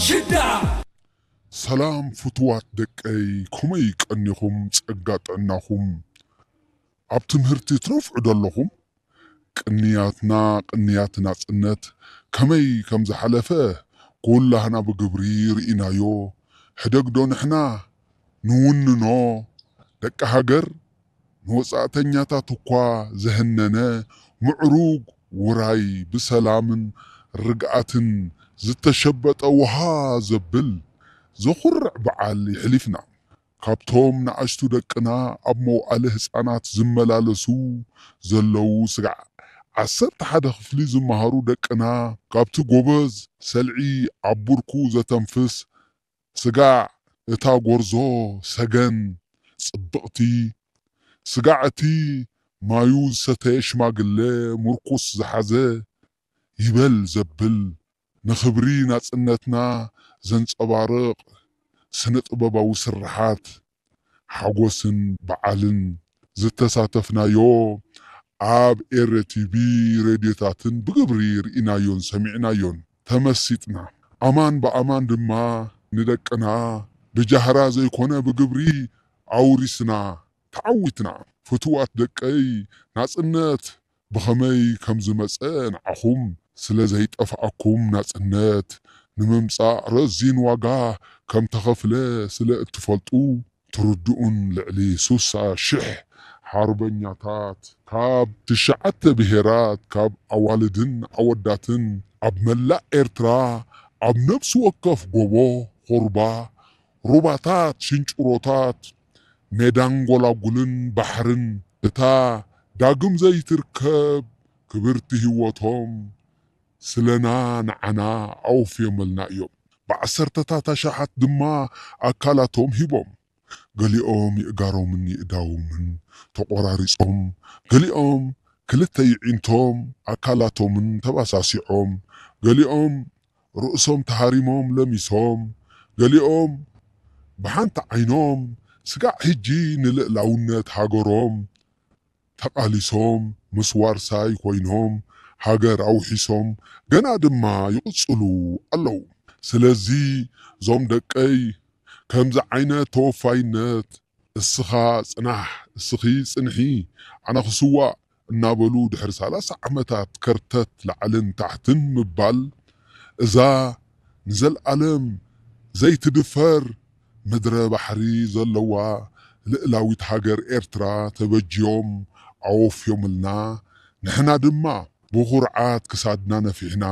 ሽዳ ሰላም ፍቱዋት ደቀይ፣ ከመይ ቀኒኹም? ጸጋ ጥዕናኹም ኣብ ትምህርቲ ትነፍዑ ደለኹም? ቅንያትና፣ ቅንያት ናጽነት ከመይ ከም ዝሓለፈ ኩላህና ብግብሪ ርኢናዮ። ሕደግዶ ንሕና ንውንኖ ደቂ ሃገር ንወጻእተኛታት እኳ ዘህነነ ምዕሩግ ውራይ ብሰላምን ርግኣትን ዝተሸበጠ ውሃ ዘብል ዘኹርዕ በዓል የሕሊፍና። ካብቶም ንኣሽቱ ደቅና ኣብ መውዓሊ ህጻናት ዝመላለሱ ዘለዉ ስጋዕ ዓሰርተ ሓደ ክፍሊ ዝመሃሩ ደቅና ካብቲ ጎበዝ ሰልዒ ኣብ ብርኩ ዘተንፍስ ስጋዕ እታ ጎርዞ ሰገን ጽብቕቲ፣ ስጋዕ እቲ ማዩ ዝሰተየ ሽማግለ ምርኩስ ዝሓዘ ይበል ዘብል ንኽብሪ ናጽነትና ዘንጸባርቕ ስነ ጥበባዊ ስርሓት ሓጎስን በዓልን ዝተሳተፍናዮ ኣብ ኤረ ቲቪ ሬድዮታትን ብግብሪ ርኢናዮን ሰሚዕናዮን ተመሲጥና። ኣማን ብኣማን ድማ ንደቅና ብጃህራ ዘይኮነ ብግብሪ ኣውሪስና ተዓዊትና። ፍቱዋት ደቀይ ናጽነት ብኸመይ ከም ዝመጸ ንዓኹም ስለ ዘይጠፍኣኩም ናጽነት ንምምጻእ ረዚን ዋጋ ከም ተኸፍለ ስለ እትፈልጡ ትርድኡን ልዕሊ ሱሳ ሽሕ ሓርበኛታት ካብ ትሽዓተ ብሄራት ካብ ኣዋልድን ኣወዳትን ኣብ መላእ ኤርትራ ኣብ ነፍሲ ወከፍ ጎቦ ኹርባ ሩባታት ሽንጭሮታት ሜዳን ጎላጉልን ባሕርን እታ ዳግም ዘይትርከብ ክብርቲ ህይወቶም ስለና ንዓና ኣወፍዮምልና እዮም። ብዓሰርተታት ኣሽሓት ድማ ኣካላቶም ሂቦም። ገሊኦም ይእጋሮምን ይእዳዎምን ተቖራሪጾም፣ ገሊኦም ክልተ ይዒንቶም ኣካላቶምን ተባሳሲዖም፣ ገሊኦም ርእሶም ተሃሪሞም ለሚሶም፣ ገሊኦም ብሓንቲ ዓይኖም ስጋዕ ሕጂ ንልእላውነት ሃገሮም ተቓሊሶም ምስ ዋርሳይ ኮይኖም ሃገር ኣውሒሶም ገና ድማ ይቕጽሉ ኣለዉ። ስለዚ እዞም ደቀይ ከምዚ ዓይነት ተወፋይነት እስኻ ጽናሕ፣ እስኺ ጽንሒ፣ ኣነ ክስዋእ እናበሉ ድሕሪ ሰላሳ ዓመታት ከርተት ላዕልን ታሕትን ምባል እዛ ንዘልኣለም ዘይትድፈር ምድረ ባሕሪ ዘለዋ ልእላዊት ሃገር ኤርትራ ተበጅዮም ኣወፍዮምልና ንሕና ድማ ብኹርዓት ክሳድና ነፊሕና